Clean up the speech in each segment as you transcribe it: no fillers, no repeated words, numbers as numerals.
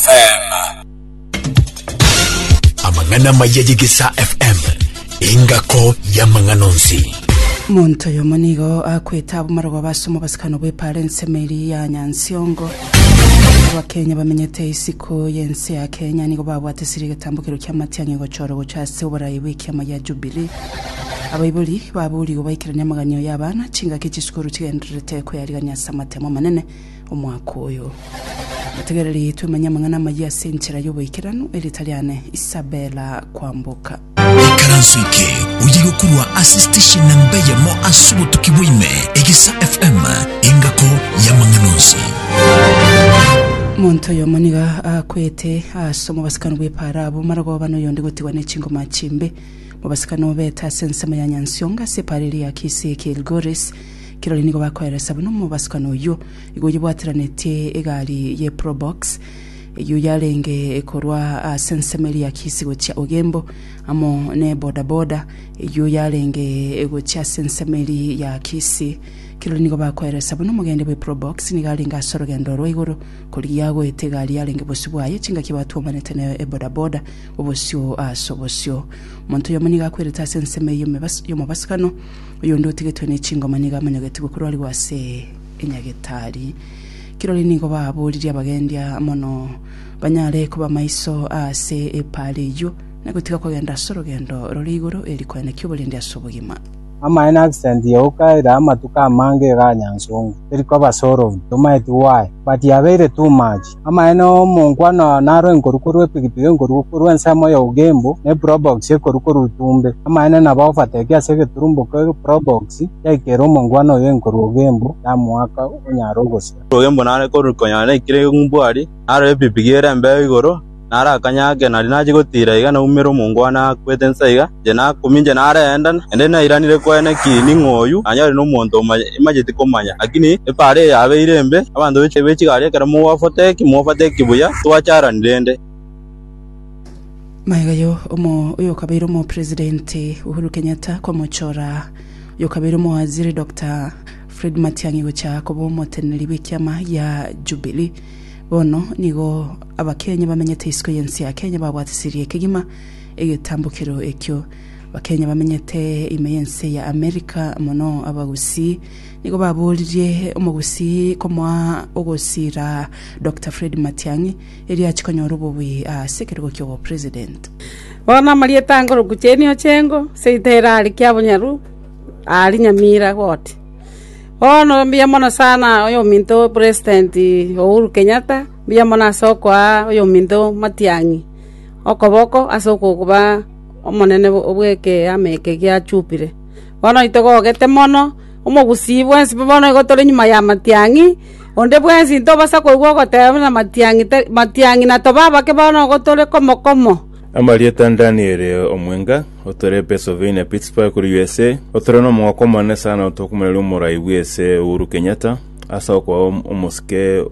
FM. Amang'ana amaya y'Egesaa FM, engako y'amang'ana onsi. Omonto oyomo nigo akwete abwo marogoba ase omobasikano bw'epaara ensemo eria ya Nyansiongo. Abakenya bamenyete isiko y'ense ya Kenya nigo babwate siri egetambokero ki'amatiang'i gochorwa gocha ase oborai bw'ekiama gia Jubilee. Abaibori baborigwe baikeranie amaganio y'abana chingaki chisukuru chigendererete koyarigania ase amatemo amanene omwaka oyo. Motegereri twemanye amang'ana amayia ase enchera y'oboikeranu, erieta riane Isabella Kwamboka. Ikaranso eke oye gokorwa ase station namba eyemo ase obotuki bwa ime, Egesa FM, engako y'amang'ana onsi. Omonto oyomo nigo akwete ase omobasikano bw'epaara abwo marogoba na oyonde gotigwa ne chingoma chimbe. Mobasikano obete ase ensemo ya Nyansiongo ase epaara eria ya Kisii Kilgoris. Kirori nigo bakoeresa buna omobasikano oyio Igo oyebwateranetie egari ye Probox, eyio yarenge korwa ase ensemo eria ya Kisii gochia Ogembo, amo ne bodaboda, eyio yarenge gochia ase ensemo eria ya Kisii. Kirori nigo bakoeresa buna omogende bwe Probox nigo arenge ase orogendo rwa igoro korigia goeta egari yarenge bosio bwaye chingaki batwomanete ne ebodaboda obosio ase obosio. Omonto oyomo nigo akwerete ase ensemo eyio y'omobasukano, oyonde otigetwe ne chingoma nigo amanyogetigwe korwa ase enyagetari. Kirori nigo baboririe abagendia mono banyare koba maiso ase epaara eyio, na gotiga kogenda ase orogendo rore igoro eri koenekia oborendi ase obogima. Amaene accident yoka ere amatuko amange igaa Nyansongo teri koba solved tomaeti why but yabeire too much. Amaene omonkwana naro enkoru korwa epigipigi enkoru korwa ensemo ya Ogembo ne probox ekoru korwa Itumbe. Amaene nabo overtake ase egeturumbo ke probox Yaikera omongwana oyo enkorwa ogembo, yamoaka onyare ogosira. Ogembo nare korwa konya naikire ng'umbu aria, narora epipigi ere embeo igoro, nare akanya ake nario nachia gotiira iga naumera omongwana akwete inse iga, inche nakumia inche nareenda, naende nairanire kwene ki ning'o oyio, nanyore nomonto imacheti komanya. Lakini epaara eye yabeire embe, abanto be chigari ekero mogofateki, mofateki buya, twacharani rende. Magega yo omo oyokabeire omopresidenti Uhuru Kenyatta komochora oyokabeire omowaziri Doctor Fred Matiang'i gocha koba omoteneneri bw'ekiama gia Jubilee. Bono nigo abakenya bamenyete isiko y'ense ya Kenya babwatisirie kegima egetambokero ekio. Abakenya bamenyete ime y'ense ya America mono abagusii nigo baboririe omogusii komoa ogosira Doctor Fred Matiang'i Erio achie konyora obobui ase ekerogo ki'obopresident. Bono amarieta angoroku Jane Ochengo, seito ere aria Kiabonyoru, aria Nyamira ward. Bono mbuya mono sana oyominto president Uhuru Kenyatta, mbuya mono ase okoa oyominto Matiang'i okoboko ase okoba omonene bwa ekeama eke gia Jubilee. Bono intogogete mono, omogusii bwensi bono igo tore nyuma ya Matiang'i. Onde bwensi ntobasa koigwa ogoteba buna matiang'i tari matiang'i na tobe abake bono igo tore komo komo. Amarieta Daniel Omwenga, otore Pennsylvania, Pittsburgh, korwa USA. Otore nomogoko omonene sana tokomoiraneria omorai bw'ense Uhuru Kenyatta ase okoa omosike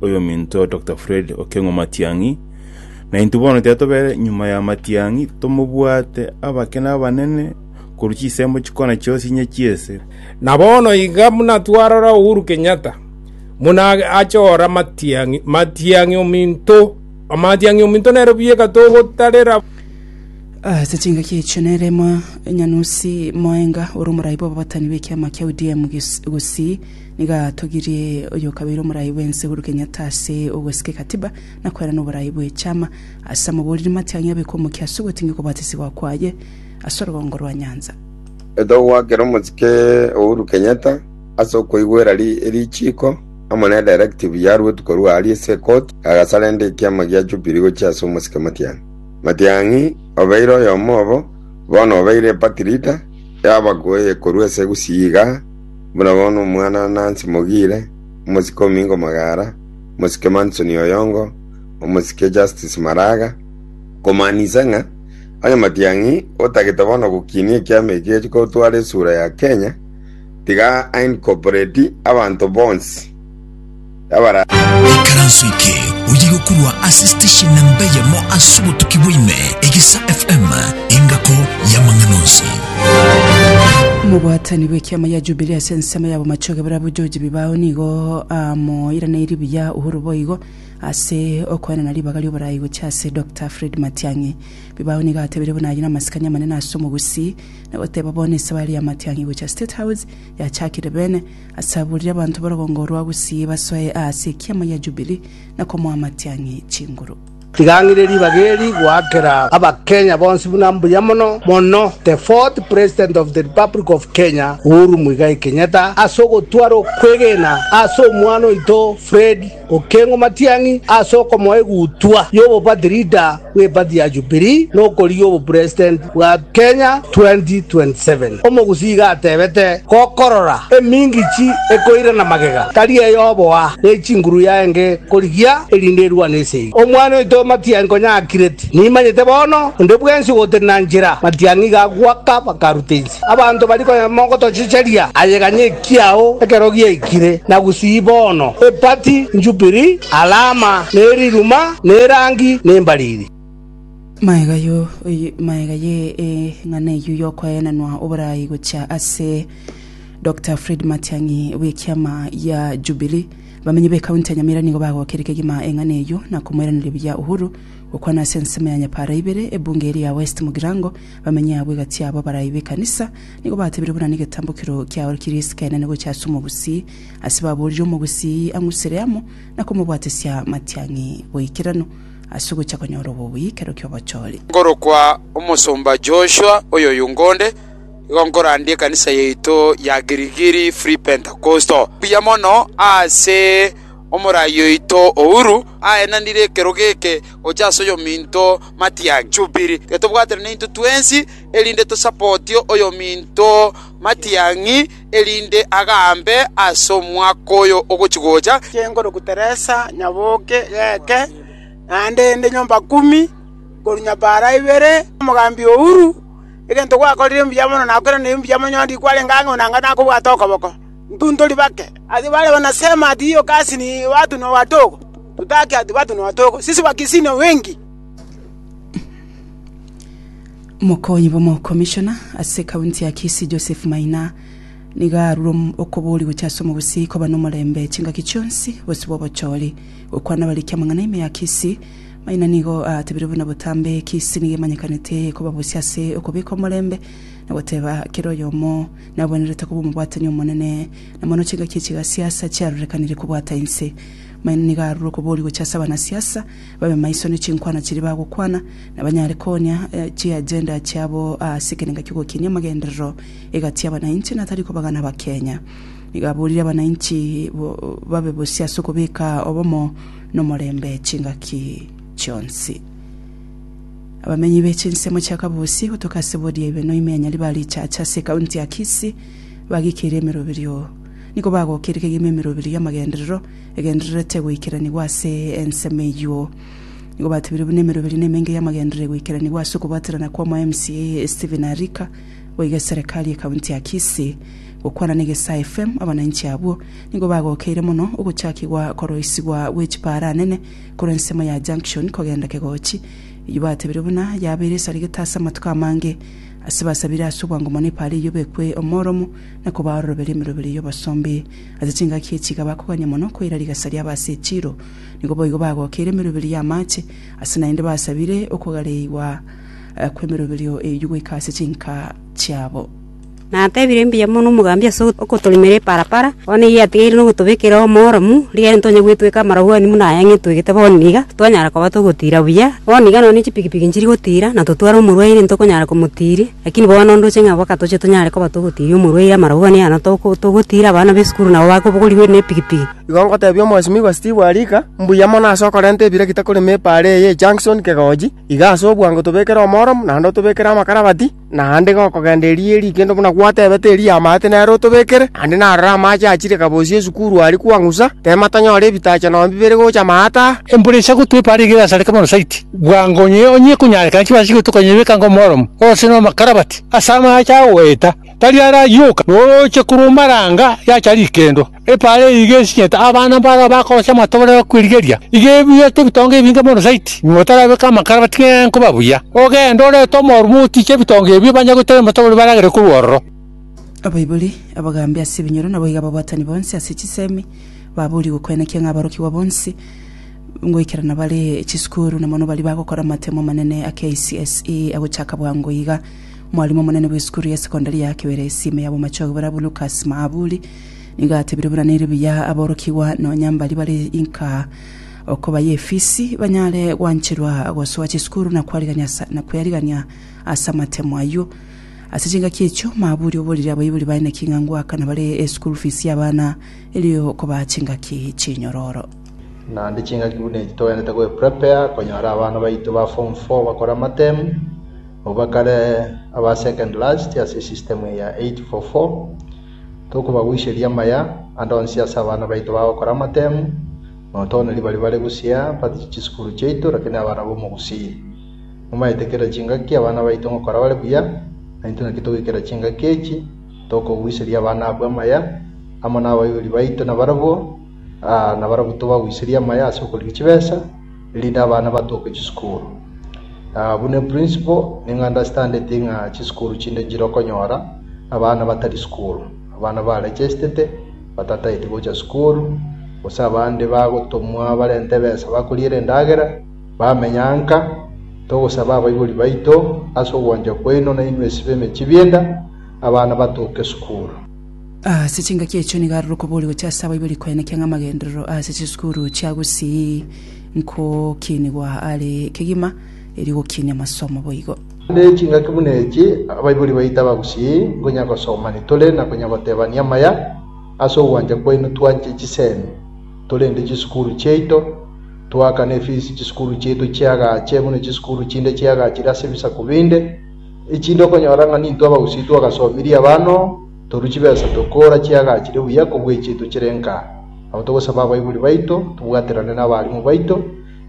oyominto Doctor Fred Okengo Matiang'i. Na intwe bono tiga tobere nyuma ya Matiang'i tomobwate abake na abanene korwa chinsemo chikona chionsi inye chi'ense. Na bono iga buna twarora Uhuru Kenyatta buna achora Matiang'i, Matiang'i ominto, Matiang'i ominto nere bieka togotarera. Ase chingaki echio nere Nyanusi Moenga ore omorai bw'ababatani b'ekiama kia ODM Gusii nigo atogirie oyokabeire omorai bw'ense Uhuru Kenyatta ase ogosika ekatiba na koerana oborai bw'echama ase amaboriri Matiang'i abekwe omokia ase ogotingia okobatisibwa kwaye ase orogongo rwa Nyanza. Togoakera omosike Uhuru Kenyatta ase okoigwera richiiko amo ne directive yaruetwe korwa aaria ase ekoti, agasarenda ekiama gia Jubilee gochia ase omosike Matiang'i. Matiang'i obeire oyomo obo, bono obeire eparty leader y'abagoye korwa ase Gusii igaa, buna bono omwana Nancy Mogire, omosike Omingo Magara, omosike Manson Oyongo, omosike Justice Maraga, komaanisa ng'a Onye Matiang'i otagete bono gokinia ekiama eke geche gotwara esura ya Kenya, tiga a-incorporate abanto bonsi abara. Ikaranso eke oye gokorwa ase station namba eyemo ase obotuki bwa ime, Egesa FM, engako y'amang'ana onsi. Omobwatani bw'ekiama gia Jubilee ase ensemo ya Bomachoge barabwo George Bibao nigo amoiraneirie buya Uhuru boigo. ase okoenana ribaga ri'oborai gochia ase Doctor Fred Matiang'i. Bibao nigo atebire buna ayio namasikani amanene ase omogusii na goteba bono esabari ya Matiang'i gochia State House yachakire bene ase aburire abanto b'orogongo rwa Gusii basoe aase ekiama gia Jubilee na komoa Matiang'i chinguru. Tiga ng'ire ribaga eri goakera Abakenya bonsi buna mbuya mono mono the fourth President of the Republic of Kenya Uhuru Muigai Kenyatta ase ogotwara okwegena ase omwana oito Fred Okengo Matiang'i ase okomoa egutwa y'oboparty leader bw'eparty ya Jubilee na okorigia obopresident bwa Kenya 2027. Omogusii iga atebete, Gokorora emingichi ekoirana magega, tari eyoboa, ne chinguru yaenge korigia, erinde erwane esegi. Omwana oito Matiang'i konya akirete, Nimanyete bono, onde bwensi ogotenena nchera, Matiang'i iga agoaka bakaruta inse. Abanto baria konya mogotochecheria, aye ganya ekiao ekero giaikire, na gusii bono, epati, njubiri, alama, ne riruma, ne erangi, ne embariri. Magega yo magega ye eng'ana eyio yokoenanwa oborai gochia ase Doctor Fred Matiang'i bw'ekiama ya Jubilee, abamenyi b'ekaunti ya Nyamira nigo bagokeire kegima eng'ana eyio na komoiraneria buya Uhuru gokwana ase ensemo ya Nyapara ibere ebunge eria ya West Mugirango. Bamenye abwo egati yabo abarai b'ekanisa nigo batebire buna negetambokero kiaorokirie esika enene gochia ase omogusii, ase baborire omogusii ang'usere amo na komobwatesia matiang'i boikeranu ase ogochia konyora obobui ekero ki'obochori. Nkorokwa omosomba Joshua oyoyungonde, igo nkorandia ekanisa yaito ya Girigiri Free Pentecostal. Mbuya mono ase omorai oito Uhuru aenanire ekerogo eke gocha ase oyominto Matiang'i. Jubili, tiga tobwaterane intwe twensi, erinde tosapotie oyominto Matiang'i, erinde agambe ase omwaka oyo ogochi-gocha. Inche Teresa Nyaboke geke, naende inde nyomba kumi, korwa nyabara ibere, omogambi Uhuru, egento gwakorire mbuya mono nakoiraneire mbuya mono onye ndikwarenge ang'e onanga nakobwate okoboko. Intwe ntori bake. Ase baria banasema ati hiyo kazi ni watu ni wadogo, tutaki ati watu ni wadogo, sisi Wakisii ni wengi. Omokonyi bw'omokomishona ase ekaunti ya Kisii Joseph Maina nigo arure okoboria gochia ase omogusii koba nomorembe chingaki chionsi bosio bw'obochori. Gokwana abariki amang'ana ime ya Kisii, Maina nigo atebire buna botambe Kisii nigo emanyekanete koba bosio ase okobeka omorembe na goteba kera oyomo nabwenerete koba omobwatani omonene na mono chingaki echi gasiasa chiarorekanire kobwata inse. Maina nigo arure okoboria gochia ase abanasiasa babe maiso ne chinkwana chiria bagokwana na banyare koonia chiagenda chiabo ase ekerenga ki'ogokinia amagenderero egati y'abanainchi na tari kobagana abakenya. Nigo aborire abanainchi babe bosio ase okobeka obomo nomorembe chingaki chionsi. Abamenyi be chinsemo chia Kabusi gotoka ase bori ya Ibeno ime ya Nyaribari Chache ase ekaunti ya Kisii bagikeire emeroberio. Nigo bagokeire kegima emeroberio y'amagenderero egendererete goikeranigwa ase ensemo eyio. Nigo batebire buna emeroberio nemenge y'amagenderero egoikeranigwa ase okobwaterana kw'omo MCA Stephen Arika boigo eserekari y'ekaunti ya Kisii. Gokwana na Egesaa FM abananchi abwo nigo bagokeire mono ogochakigwa koroisigwa gwe chipaara nene korwa ensemo ya Junction kogenda Kegochi Eyio batebire buna yabeire esarigete ase amatuko amange, ase basabire ase obwango mono epaara eyio bekwe omoromo, na kobaororoberia emeroberio y'obosombe. Ase chingaki echi iga bakogania mono koira rigasa riabo ase echiiro. Nigo boigo bagokeire emeroberio y'amache, ase naende basabire okogareigwa kw'emeroberio eyio goika ase chinka chiabo. Natebire mbuya mono omogambi ase ogotorimera eparapara, bono eyio yatigaire nogotobekera omoromu, rigiya ntonya gwetweka amarabwani buna aya ng'etwegete bono iga, twanyara koba togotira buya. Bono iga nonye chipikipiki nchiri gotira, na totware omorwaire ntokonyara komotiria, lakini bono ndoche ng'a mpaka toche tonyare koba togotiria omorwaire amarabwani aya notoko togotira abana ba esukuru nabo bakobogorigwa ne epikipiki. Igo ngotebia omwesimigwa Steve Arika, mbuya mono ase okorenta ebiregita korema epaara eye Junction Kegochi, iga ase obwango tobekere omoromu naende otobekere amakarabati. Naende gokogenda eria erikendo buna gwatebete eria y'amaate nere otobekere, naende narore amache achire kabosie esukuru aria kwang'usa, tema tonyore ebitacha nonya bibere gocha amaate aa. Embura eisa gotwa epaara iga erasareke mono zaidi, bwango onye onye ekonyarekana chibesa chigotoka onyebeka ng'omoromo, gose nomakarabati ase amache agoeta, tari arayioka, noroche korwa omaranga yacha rikendo. Epaara eye iga esinyete abana mbaro bakorosia amatobori bakwerigeria, iga ebuete ebitonga ebinge mono zaidi. Nyuma otarabeka amakara batige nkoba buya, ogende orete omormo otiche ebitonga ebio banye gotera amatobori baragere korwa ororo. Abaibori, abagambi ase ebinyoro naboigo ababwatani bonsi ase chisemi, baborie gokoenekia ng'a aborokigwa bonsi. Ngoikerana bare chisukuru na mono baria bagokora amatemo amanene a KCSE agochaka bwango iga. Omwalimu omonene bw'esukuru ya sekondari ya Kiberesi ime ya Bomachoge barabwo Lucas Maaburi nigo atebire buna nere buya aborokigwa nonya mbaria bare inka okoba y'efisi banyare gwancherwa gosoa chisukuru na kwarigania na kwearigania ase amatemo ayio. Ase chingaki echio Maaburi oborire abaibori baye naki ng'a ngoakana bare eschool fees y'abana erio kobaa chingaki chinyororo. Naende chingaki buna echi togenderete goeprepare konyora abana baito ba form four bakore amatemu, abwo bakare aba second last ase esystem eye ya 844, tokobagoiseria amaya ande onsi ase abana baito bagokora amatemu, not only baria bare gusii but chisukuru chiaito lakini abana ba omogusii. Momaete kera chingaki abana baito ngokora bare buya, naintwe naki togoikera chingaki echi, tokogoiseria abana abwo amaya, amo nabaibori baito nabarabwo, Aa nabarabwo tobagoiserie amaya ase okorigia chibesa, erinde abana batoke chisukuru. Aa buna eprinciple, nigo understandeti ng'a chisukuru chinde nchire okonyora abana batari sukuru, abana baregestete batataeti gocha sukuru, gose abande bagotomwa barente ebesa bakoriera endagera, bamenya nka, togosaba abaibori baito ase ogwancha kwaino nainwe ase b'emechie bi'enda, abana batoke sukuru. Ase chingaki echio nigo arure okoboria gochia ase abaibori koenekia ng'a amagenderero ase chisukuru chia Gusii nkokinigwa are kegima erio gokinia amasomo boigo. Naende chingaki buna echi abaibori baito abagusii nkonya gosomani tore na konya gotebania amaya ase ogwancha kwaino twanche chisemi torende chisukuru chiaito toakane efisi chisukuru chiaito chiagache buna chisukuru chinde chiagachire ase ebisaku binde echinde okonyora ng'a nintwe abagusii twagasomirie abana oo Torwe chibesa tokora chiagachire buya kobua echiaito chire nka. Nabo togosaba abaibori baito tobwaterane nabarimu baito,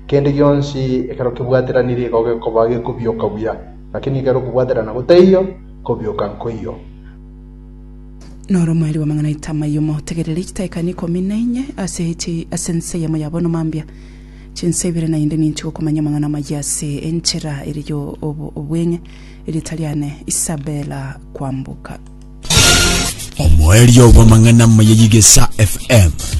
kende gionsi ekero kebwateranire igo gekoba gekobioka buya, lakini ekero okobwaterana gotaiyo, kobioka nkoiyo. Noro omoerio bw'amang'ana aito amayio motegerere chitaika ikomi na inye ase chi ase ense eyemo ya bono mambia chinsa ibere naende ninche gokomanya amang'ana amayia ase enchera ere yo obweng'e Erieta riane Isabella Kwamboka. Omoerio bw'amang'ana amaya y'Egesaa FM.